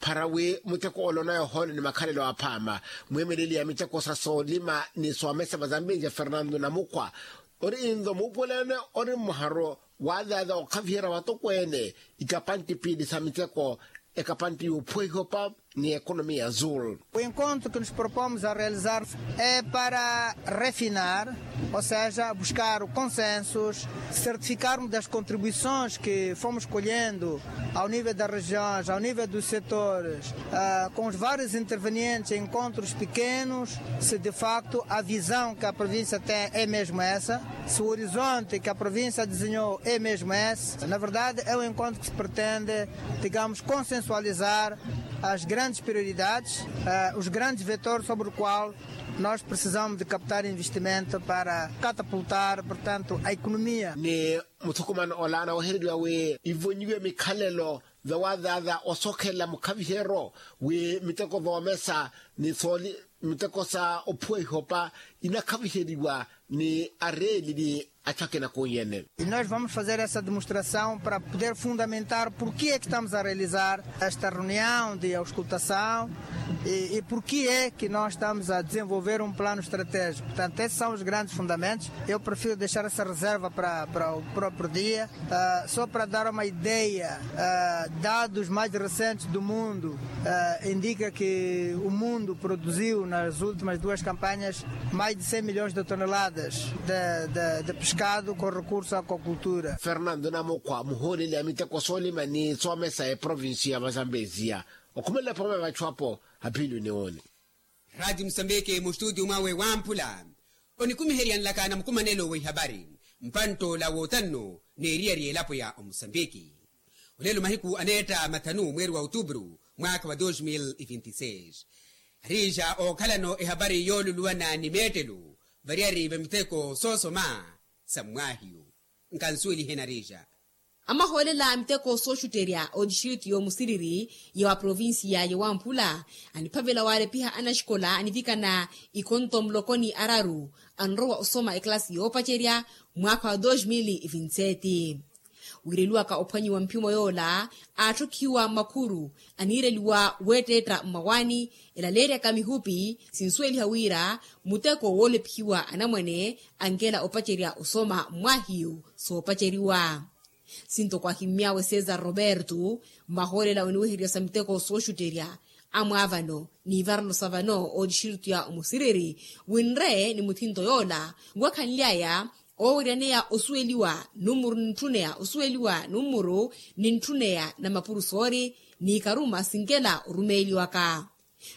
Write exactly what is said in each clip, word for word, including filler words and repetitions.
Para wi muteko ole onayohoole ni makhalelo aphaama. Mwiimeleli ya miteko sa soolima ni soomesa va zambiya fernando namukhwa ori inzo muupweleene ori mmuharo waazaaza okhaviherya vatokweene ikapantti piili sa miteko ekapantti y'ophuwa ihopa ni ekonomiya azul. O encontro que nos propomos a realizar é para refinar, ou seja buscar consensos, certificarmos das contribuições que fomos colhendo ao nível das regiões, ao nível dos setores, com os vários intervenientes em encontros pequenos, se de facto a visão que a província tem é mesmo essa, se o horizonte que a província desenhou é mesmo esse. Na verdade é um encontro que se pretende, digamos, consensualizar as grandes prioridades, os grandes vetores sobre o qual nós precisamos de captar investimento para catapultar portanto a economia. Ni muthukumano ola anawehereriwa wi ivonyiwe mikhalelo vawazaaza osokhelela mukhaviheryo wi miteko voomesa ni sooli miteko sa ophuwa ihopa inakhaviheriwa ni areelili. Achu akina kunyene. E nós vamos fazer essa demonstração para poder fundamentar porquê é que estamos a realizar esta reunião de auscultação e porquê é que nós estamos a desenvolver um plano estratégico. Portanto esses são os grandes fundamentos. Eu prefiro deixar essa reserva para o próprio dia. Só para dar uma ideia, dados mais recentes do mundo indica que o mundo produziu nas últimas duas campanhas mais de cem milhões de toneladas de pescado com recurso à aquacultura. Fernando namukhwa muhooleli a miteko soolima ni soomesa eprovinsi ya mazambesia. Okhumelela phooma ya vachu apo. Apiluni wooni. Raati musambiki mustutiyu mwawe wamphula onikumiheryanlaka na mukumanelo wa ihapari mpantt'ola wootanno n'eriyari y'elapo ya omusambiki. Olelo mahiku aneetta mathanu mweeri wa otupuru mwaakha wa dos mil e vinti seis. Ariija ookhalano ehapari yooluluwana ni meettelo variyari va miteko soosoma sa mmwaahiyu. Nkansuwelihe nariija. Amahoolela a miteko sooxutterya otistritu y'omusiriri ya wa provincia ya wamphula aniphavela waalepiha anaxikola anivikana ikhonto muloko ni araru anrowa osoma ekalasi yoopacerya mwaakha wa dos mil e vinti sete. Wiireliwaka ophwanyiwa mphimo yoola aatthokhiwa mmakhuru aniireliwa weetteetta mmawaani elaleeryaka mihupi sinsuweliha wira muteko woolephiwa anamwane ankela opacerya osoma mmwaahiyu soopaceriwa. Sintoko ahimmy'awe cesar roberto mmahoolela oniweherya sa miteko sooxutterya amwaavano n'ivarelo sa vano ootixiritiya omusiriri winre ni muthinto yoola wakhanly'aya ooweryaneya osuweliwa nummuru nintthunneya osuweliwa nummuru nintthunneya na mapurusoori n'ikaruma sinkela orumeeliwaka.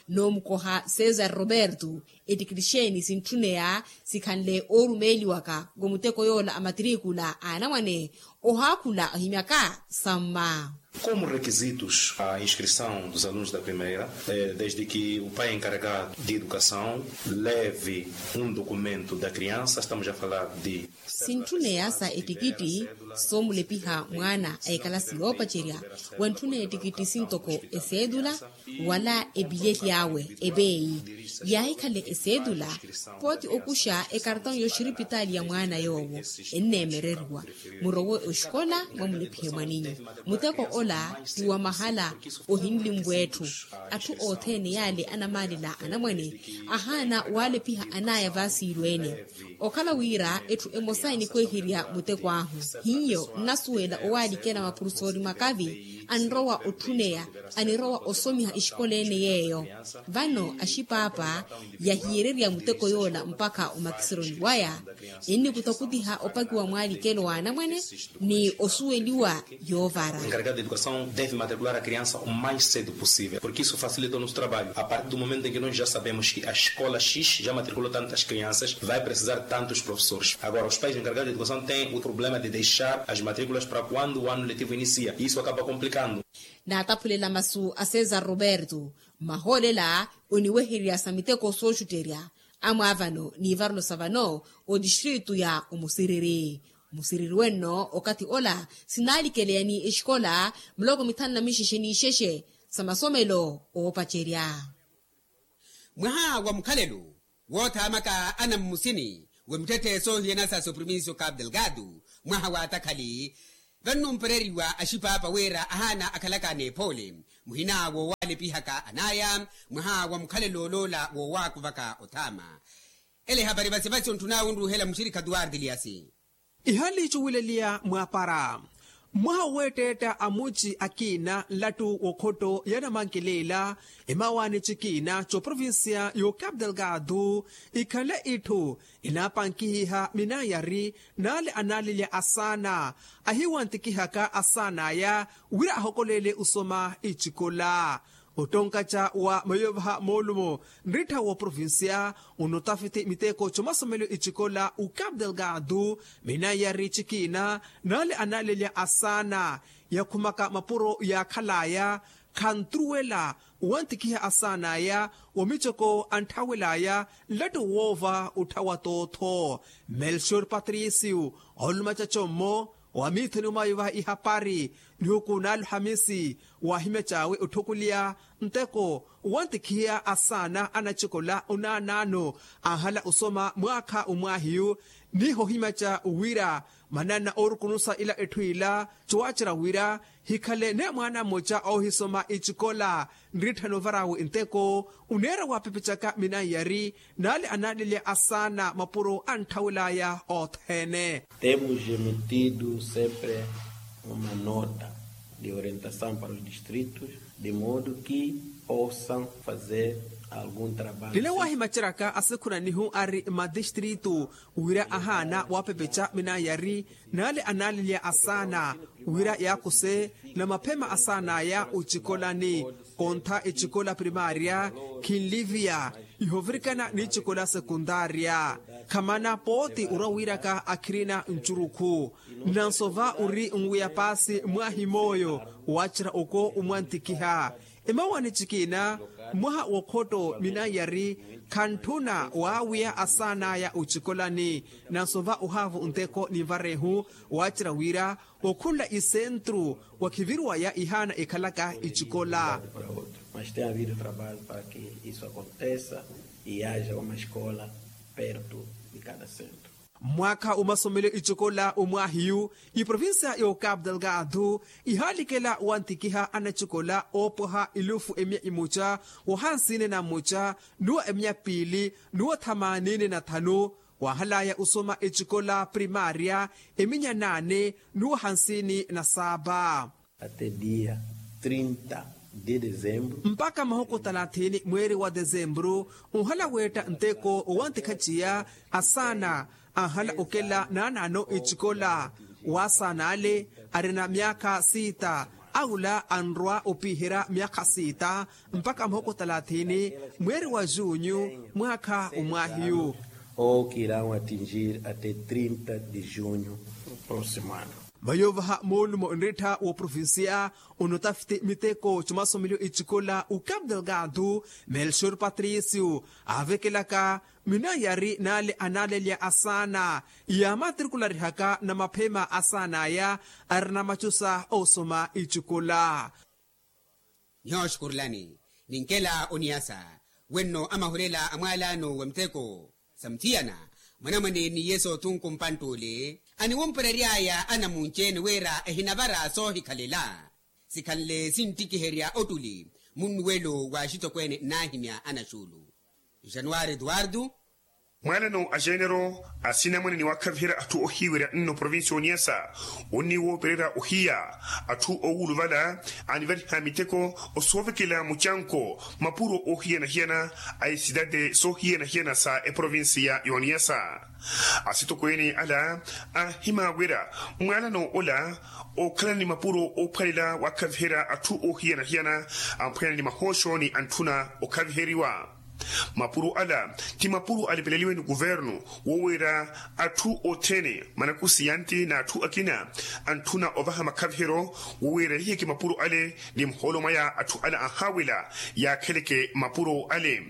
Noomukoha cesar roberto ettikitixeeni sintthunneya sikhanle oorumeeliwaka wa muteko yoola a matrikula a anamwane ohaakhula ohimyaka samma. Como requisitos a inscrição dos alunos da primeira desde que o pai encarregado de educação leve um documento da criança estamos a falar de sintthunneya sa ettikitti soomulepiha mwaana a ekalasi yoopacerya wantthunneya ettikitti sintoko eseedula wala epilyeli awe epeeyi yaahikhale eseedula pooti okuxa ekartong y'oxiripitaali ya mwaana yoowo enneemereriwa murowe oxikola mwamulepihe mwaninyu muteko ola ti wa mahala ohinlimvwa etthu atthu othene yaale anamaalela anamwane ahaana waalepiha anaaya vaasiilweene okhala wira etthu emosa enikweherya muteko ahu hiyo nnasuwela owaalikela mapurusoori makavi anrowa otthuneya anirowa osomiha exikola ene yeeyo vano axipaapa yahiyererya muteko yoola mpakha omakiseroni waya ennikutha okutiha opakiwa mwaalikelo wa anamwane ni osuweliwa yoovara. Encarregado de educação deve matricular a criança o mais cedo possível porque isso facilita o nosso trabalho a partir do momento em que nós já sabemos que a escola x já matriculou tantas crianças vai precisar tantos professores agora os pais encarregados de educação têm o problema de deixar as matriculas para quando o ano letivo inicia isso acaba complicando. Naataphulela masu a cesar roberto mmahoolela oniwehererya sa miteko sooxutterya amwaavano n'ivarelo sa vano otistritu ya omusiriri musiriri wenno okathi ola sinaalikeleya ni exikola muloko mithanu na mixexe n'ixexe sa masomelo oopacerya. Mwaha wa mukhalelo woothaamaka anammusini wa mittethe soohiyana sa soprovincia o cabo delgado mwaha wa atakhali Vanno mpereriwa axipaapa wira ahaana akhalaka n'ephoole muhina woowaalepihaka anaya mwaha wa mukhalelo oloola woowaakuvaka othaama. Ele ehapari vasivasi ontthun'awe onruuhela muxirikha tuwarti liyasi. Ihali cuwileliya mwaapara mwaha woweetteetta a muci akiina nlattu w'okhotto ya namankileela emawaani cikiina c'oprovincia y'ocapital gado. Ikhale itthu inaapankihiha minayari n'ale anaalelya asaana ahiwantikihaka asaan'aya wira ahokoleele osoma icikola. Ottonkaca wa mayovaha moolumo nrittha w'oprovincia onotafiti miteko c'omasomelo icikola ucapital gado minayari cikiina n'ale anaalelya asaana yakhumaka mapuro yaakhal'aya khantruwela owantikhiha asaan'aya wa micoko antthawel'aya nlattu woova otthawa tootho. Melchior patricio ooluma cacommo wa miithoni omayovaha ihapari nihuku n'aluhamisi waahimya caawe otthukuliya nteko owantikhiha asaana anacikola onaanaano anhala osoma mwaakha omwaahiyu. Niho ohimaca wira manana oorukunusa ila etthu ila cowaacerya wira hikhale ne mwaana mmoca oohisoma icikola nritthana ovar'awe nteko oneera waapepecaka minanyari n'ale anaalelya asaana mapuro antthawel'aya othene. Temos emitido sempre uma nota de orientação para os distritos de modo que possam fazer algum trabalho. Lila waahimaceryaka asikhunanihu ari madistritu wira ahaana waapepeca minanyari n'ale anaalelya asaana wira yaakuse na maphema asaan'aya ocikolani kontha ecikola primaria khinliviya ihovirikana n'icikola sekundaria. Khamana pooti orwa wiiraka akhirina ncurukhu nansova ori nwiya paasi mwaahi mooyo waacerya oko omwantikiha emawaani cikiina mwaha w'okhotto minanyari khantthuna waawiya asaan'aya ocikolani nansova ohaavu nteko ninvarehu waacerya wira okhunla isentru wakhiviriwaya ihaana ekhalaka icikola. Mas tem havido trabalho para que isso aconteça e haja uma escola perto de cada centro. Mwaakha omasomelo icikola omwaahiyu iprovincia y'ocapital gado ihaalikela wantikiha anacikola oopwaha elufu emia imoca wahansiine na mmoca nuwa emia piili nuwa thamanini na thanu. Waahalaya osoma ecikola primaria eminya naane nuwa hansini na saapa. Até dia trinta de dezembro. Mpakha mahuku talathini mweeri wa dezembro onhala weetta nteko owantikhaciya asaana anhala okela naanaano ecikola waasaana ale arina myaakha siita aula anrwa opiherya myaakha siita mpakha mahuku talathini mweeri wa junyu mwaakha omwaahiyu. Ou que irão atingir até trinta de junho próximo ano. Vayoovaha moolumo nrittha w'oprovincia onotafiti miteko c'omasomelo ecikola ucapital gado melchior patricio aavekelaka minanyari n'ale anaalelya asaana yaamatrikularihaka na maphema asaan'aya arina macusa oosoma icikola. Nyooxukurilani ninkela oniyasa wenno amahulela a mwaalaano wa miteko sa muthiyana mwanamwane ni yesu othunku mpantt'ole aniwumperery'aya anamunci-ene wira ehinavara soohikhalela sikhanle sinttikiherya ottuli munnuwelo wa axitokweene nnaahimya anaxuulu. Januwari etuwartu. Mwaalano a genero asinamwane ni waakhaviherya atthu ohiiwerya nno provincia oniyasa onniwoopererya ohiya atthu owuluvala anivariha miteko osoovekela mucanko mapuro oohiyana-hiyana a esidade soohiyana-hiyana sa eprovincia y'oniyasa. Asitokweene ala ahimaawera mwaalano ola ookhalana ni mapuro oophwalela waakhaviherya atthu oohiyana-hiyana amphweyana ni mahooxo ni antthuna okhaviheriwa. Mapuro ala ti mapuro alepeleliwe ni kuvernu woweera atthu othene manakusiyanti n'atthu akina antthuna ovaha makhaviheryo woweera yiheke mapuro ale ni muhoolo mwaya atthu ala anhaawela yaakheleke mapuro ale.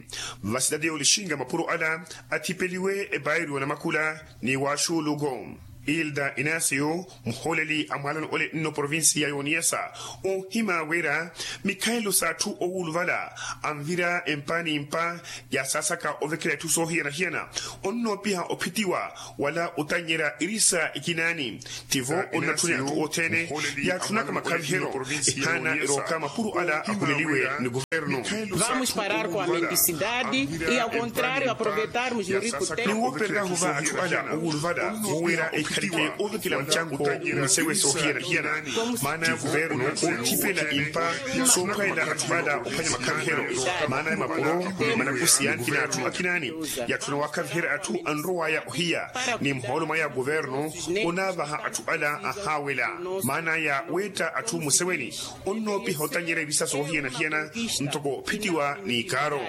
Vasitati y'olixinga mapuro ala athipeliwe epairiwo namakula ni waxuuluko. Hilda inasio, muhooleli a mwaalano ole nno provincia ya oniyasa, onhima wira mikhalelo s'atthu owuluvala anvira empa ni mpa ya saasaka ovekela itthu soohiyana-hiyana, onnoopiha ophitiwa wala otannyerya irisa ikinaani. Tivo onnatthuna atthu othene yaatthunaka makhavihelo ehaana erooka mapuro ala akhuleliwe ni kuvernu. Vamos parar com a mendicidade e ao contrário aproveitarmos o rico tempo. Niwoopereryahu va atthu ala owuluvala wowira ekhalike ovekela mucanko, musewe soohiyana-hiyana. Maana ya kuvernu othipela impa soophwanyela atthu ala ophwanya makhavihelo. Maana ya mapuro manakusi yankina atthu akinaani yatthuna wakhaviherya atthu anrowaya ohiya ni muhoolo mwaya kuvernu onaavaha atthu ala ahaawela. Maana ya weetta atthu museweni onnoopiha otannyerya irisa soohiyana-hiyana ntoko phitiwa ni kaaro.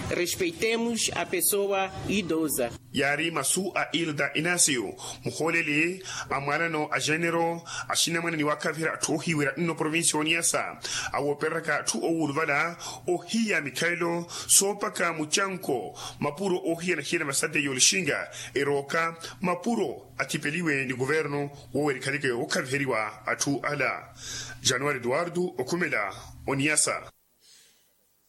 Respeitemos a pessoa idosa. Yaari masu a hilda inasio, muhooleli a mwaalano a genero, axinamwane ni wakhaviherya atthu ohiwira nno provincia oniyasa, awoopereraka atthu owuluvala ohiya mikhalelo soopaka mucanko, mapuro oohiyana-hiyana masate y'olixinga erooka mapuro athipeliwe ni kuvernu woowira ekhaleke wookhaviheriwa atthu ala. Januwari eduwardo okhumela oniyasa.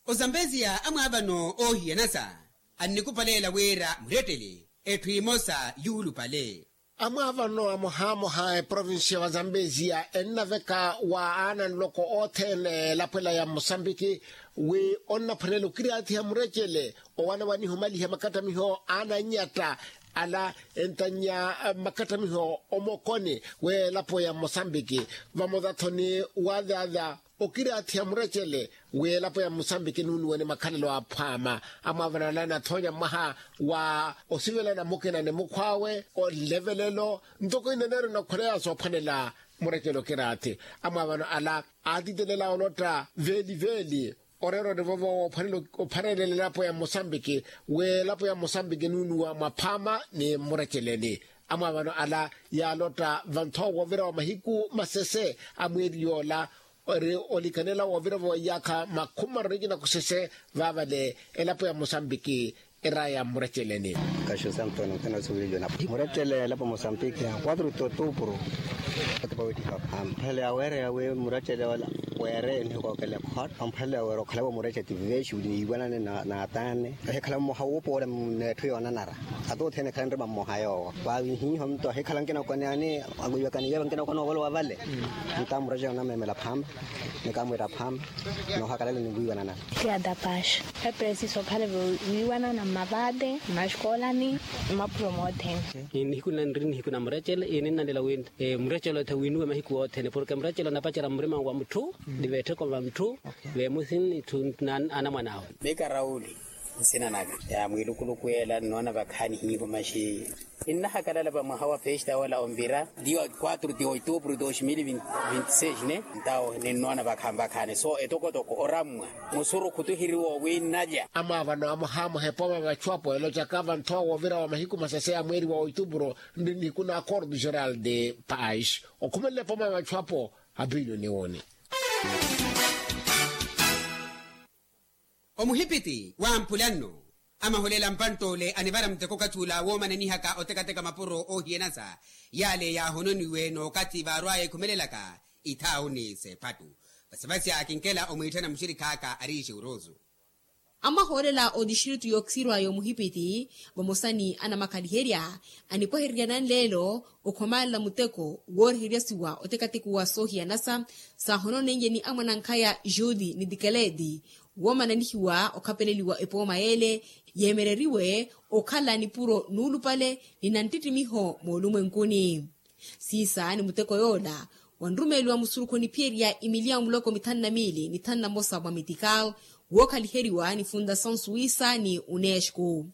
Ozambeziya amwaavano oohiyanasa annikupaleela wira murettele etthu emosa yuulupale. Amwaavano amohaamoha eprovincia wa zambeziya ennaveka wa aana nloko othene elapwela ya musambiki wi onnaphwanela okiraathiha murecele owanawaniha omaliha makattamiho a ananyatta ala entannya makattamiho omokoni w'elapo ya mosambiki. Vamozathoni waadyaadya okiraathiha murecele wi elapo ya mosambiki enuunuwa ni makhalelo aphwaama. Amwaavano ala enathoonya mwaha wa osivelana mukina ni mukhw'awe olevelelo ntoko ineneero inakhweleya soophwanela murecele okiraathi. Amwaavano ala aatitelela olotta veeli-veeli oreera onivovo woophwanelela elapo ya mosambiki wi elapo ya mosambiki enuunuwa mwaphaama ni mmureceleni. Amwaavano ala yaalotta vanthowa woovira wa mahiku masese a mweeri yoola ori olikanela woovira-vo iyaakha makhumi mararu nikina kusese vaavale elapo ya mosambiki eraya mmureceleni. Kaxusa antonio nkhana osiwileliwa na murecele elapo mosambiki quatro de outubro. Atipa wettiha amphalele aweereya wi murecele ola weere enihikookele khot amphalele aweere okhalavo murecele ti vexuli niiwanane na ataane ehikhala mmoha wuupoole n'etthu yoonanara. Ata othene ekhala nrima mmoha yoowo vaavihiiho nto ahikhala nkina okwaneani akwiiwakani yeevo nkina okwana ovolowa vale. Nta murecele onameemela phaama ni kaamwiira phaama. Noohakalale ni wiiwananana. Tiya tapaxa epresiso okhale viiwanana mmavate mmaxikoolani mmaphuro moothene. Nihiku nna nri nihiku na murecele ininnalela wi murecele othe wiinuwe mahiku othene porke murecele onapacerya mmurima wa mutthu ni veettheko va mutthu veemusi ni anamwan'awe. Mika rauli nsina naka ya mwiilukuluku yeela nnoona vakhaani hiivo maxi. Ninnahakalala va mwaha wa festa ola onvira dia quatro de outubro dos mil vinti seis ne ntawo ninnoona vakhaani vakhaani so etokotoko orammwa musurukhu tuhiriwa owinnalya. Amwaavano amohaamoha epooma vachu apo elocaka vanthowa woovira wa mahiku masese a mweeri wa outubro nri nihiku na acordo geral de paz okhumelela epooma vachu apo. Apiliyoni wooni. Omuhipiti wampulanno amaholela mpantt'ole anivara muteko okathi ula woomananihaka otekateka mapuro oohiyanasa yale yaahononiwe n'okathi vaarwaya ekhumelelaka ithaawuni s'ephattu. Vasivasi akinkela omwiitthana muxirikhaaka ari ixeurosu. Amwahoolela otistritu y'okisirwa y'omuhipiti vamosa ni anamakhaliherya anipwehererya nanleelo okhomalela muteko wooriheryasiwa otekateko wa soohiyanasa saahononenye ni amwanankhaya jude ni tikeleti woomananihiwa okhapeleliwa epooma yeele yeemereriwe okhala nipuro nuulupale ni nanttittimiho moolumwenkuni. Siisa ni muteko yoola wanrumeeliwa musurukhu oniphiyerya imiliya muloko mithanu na miili ni thanu na mosa mwa mitikaw wookhaliheriwa ni fundasaw suwisa ni unesco.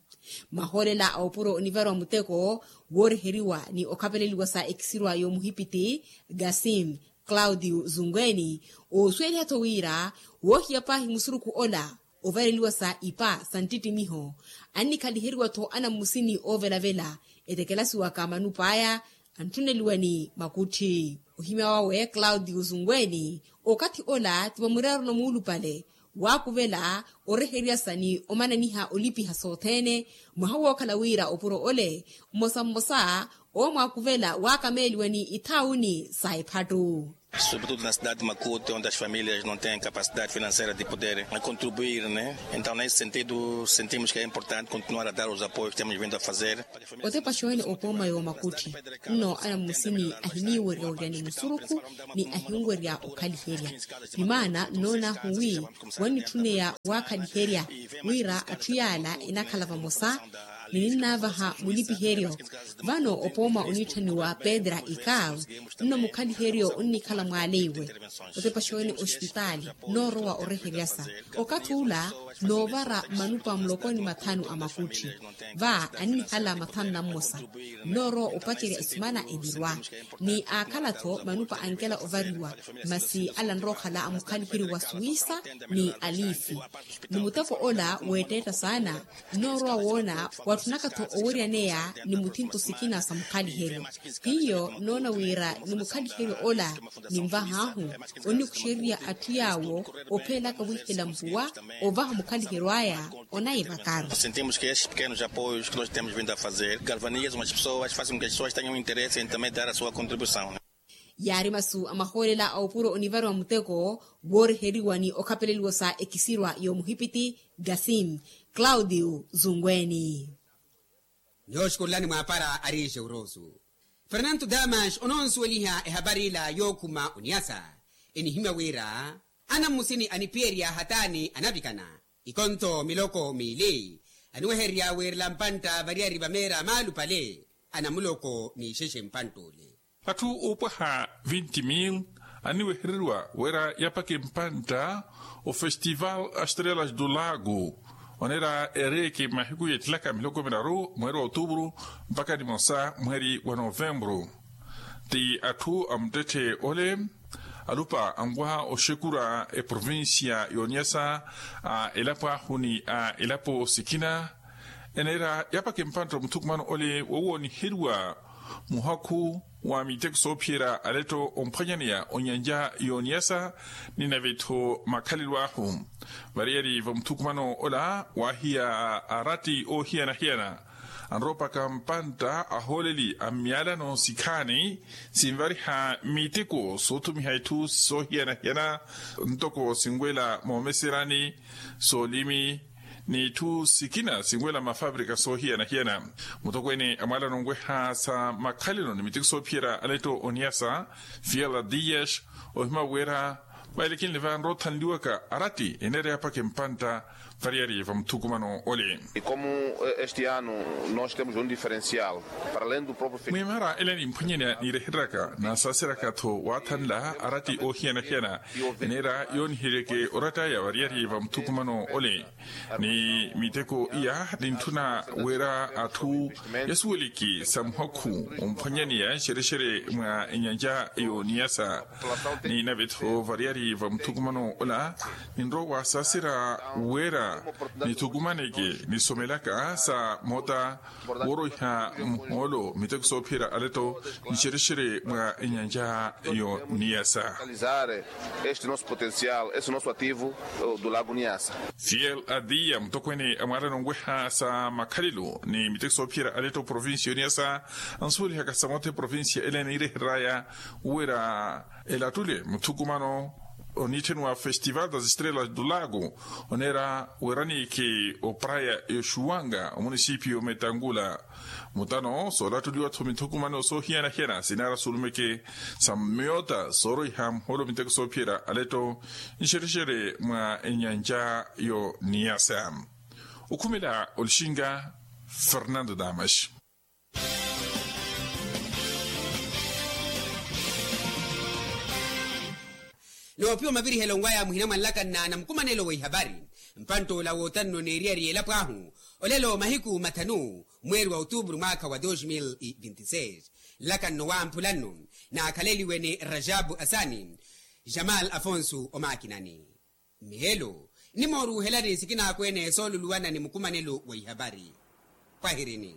Mahoolela a opuro onivariwa muteko wooriheriwa ni okhapeleliwa sa ekisirwa y'omuhipiti gasim claudio zungweni oosuweliha-tho wira woohiya paahi musurukhu ola ovareliwa sa ipa sa nttittimiho annikhaliheriwa-tho anammusini oovelavela etekelasiwaka manup'aya antthuneliwa ni makutthi. Ohimya wawe claudio zungweni okathi ola ti vamuraru na muulupale Waakuvela oreheryasa ni omananiha olipiha sothene. Mwaha wookhala wira opuro ole mmosa mmosa owo mwaakuvela waakameeliwa ni ithauni sa ephattu. Sobretudo na cidade de makuti onde as famílias não tem capacidade financeira de poder contribuir ne. Então nesse sentido sentimos que é importante continuar a dar os apoios que temos vindo a fazer. Otepa xoohene opooma yoomakutti nno anammusini ahiniiwerya werya ni musurukhu ni ahinwerya okhaliherya. Ni maana nnoonaahu wi wannitthunneya waakhaliherya wira atthu yaala enakhala vamosa ni ninnaavaha mulipiheryo. Vano opooma oniitthaniwa pedra ikav nno mukhaliheryo onnikhala mwaaleiwe otepa xoohene ospitaali nnoorowa oreheryasa. Okathi ula noovara manupa muloko ni mathanu a makutti va annihala mathanu na mmosa. Nnoorowa opacerya esimana enirwa ni aakhala-tho manupa ankela ovariwa masi ala nrookhala a mukhaliheryo wa suwisa ni alifi. Ni muteko ola weetteetta saana nnoorowa woona watthunaka-tho oweryaneya ni muthinto sikina sa mukhaliheryo. Hiyo nnoona wira ni mukhaliheryo ola ninvahaahu onnikuxererya atthu yaawo opheelaka wiihela mpuwa ovaha mukhaliheryo aya. Onaiva karu. Sentimos que estes pequenos apoios que nós temos vindo a fazer galvanizam as pessoas fazem com que as pessoas tenham interesse em também dar a sua contribuição. Yaari masu a mahoolela a opuro onivariwa muteko wooreheriwa ni okhapeleliwa sa ekisirwa y'omuhipiti gasim claudio zungweni. Nihooxukurulani mwaapara ariixe urosu fernanto damas ononsuweliha ehapari ila yookhuma oniyasa enihimya wira anammusini aniphiyerya hataani anavikana ikonto miloko miili aniwehererya wiirela mpantta variyari vameera maalupale anamuloko ni ixexe mpantta ole. Atthu oopwaha vinti mil anniwehereriwa wira yapake mpantta ofestival astrelas do lago oneera ereeke mahiku yettilaka miloko miraru mweeri wa otuvuru mpaka nimosa mweeri wa novemburu. Ti atthu a muttetthe ole alupa anwaha oxekura eprovincia y'oniyasa a elapo ahu ni a elapo sikina eneera yapaka empantta omuthukumano ole wowooniheriwa muhakhu wa miteko soophiyerya aletto omphwanyaneya onyanja y'oniyasa ni nave-tho makhalelo ahu. Variyari va muthukumano ola waahiya aratti oohiyana-hiyana anroopaka mpantta ahooleli a myalano sikhaani sinvariha miteko soothumiha itthu soohiyana-hiyana ntoko sinwela moomeserani soolimi n'itthu sikina sinwela mafabrika soohiyana-hiyana. Mutokweene a mwalano onweha sa makhalelo ni miteko soophiyerya aletto oniyasa fiela dias ohima wira vailekinle vanroothanliwaka aratti eneera yapaka empantta variyari va muthukumano ole. Como este ano nós temos um diferencial para além do próprio festival. Mwiimara ele nimphwanyaneya niirehereraka naasaaseryaka-tho waathanla aratti oohiyana-hiyana eneera yooniheryeke oratt'aya variyari va muthukumano ole ni miteko iya nintthuna wira atthu yasuweleke sa muhakhu omphwanyaneya nxerexere mwa enyanja y'oniyasa ni nave-tho variyari va muthukumano ola ninrowa waasaaserya wira nithukumaneke nisomelaka sa moota wooroiha muhoolo miteko soophiyerya aletto nxerexere mwa enyanja y'oniyasa. Este nosso potencial este nosso ativo do lago niasa. Fiel adiya mutokweene a mwaalano onweha sa makhalelo ni miteko soophiyerya aletto provincia y'oniyasa ansuwelihaka sa moota eprovincia ele eniirehereraya wira elattule muthukumano oniitthaniwa festival das estrelas do lago oneera weranike opraya yoxuwanga omunisipio metangula. Mutano soolattuliwa-tho mithukumano soohiyana-hiyana sinaara suulumeke sa mmiyoota sooroiha muhoolo miteko soophiyerya aletto nxerexere mwa enyanja y'oniyasa. Okhumela olixinga fernando damas. Noopiwa mavirihelo nwaya muhina mwa nlakanna na mukumanelo wa ihavari mpantt'ola wootanno n'eriyari y'elapo ahu olelo mahiku mathanu mweeri wa otuupuru mwaakha wa dos mil vinti seis. Nlakanno wamphula nno naakhaleliwe ni rajabu asani jamal afonso omaakinani. Mmihelo nimooruuhelani sikinaakweene sooluluwana ni mukumanelo wa ihavari. Pwahirini.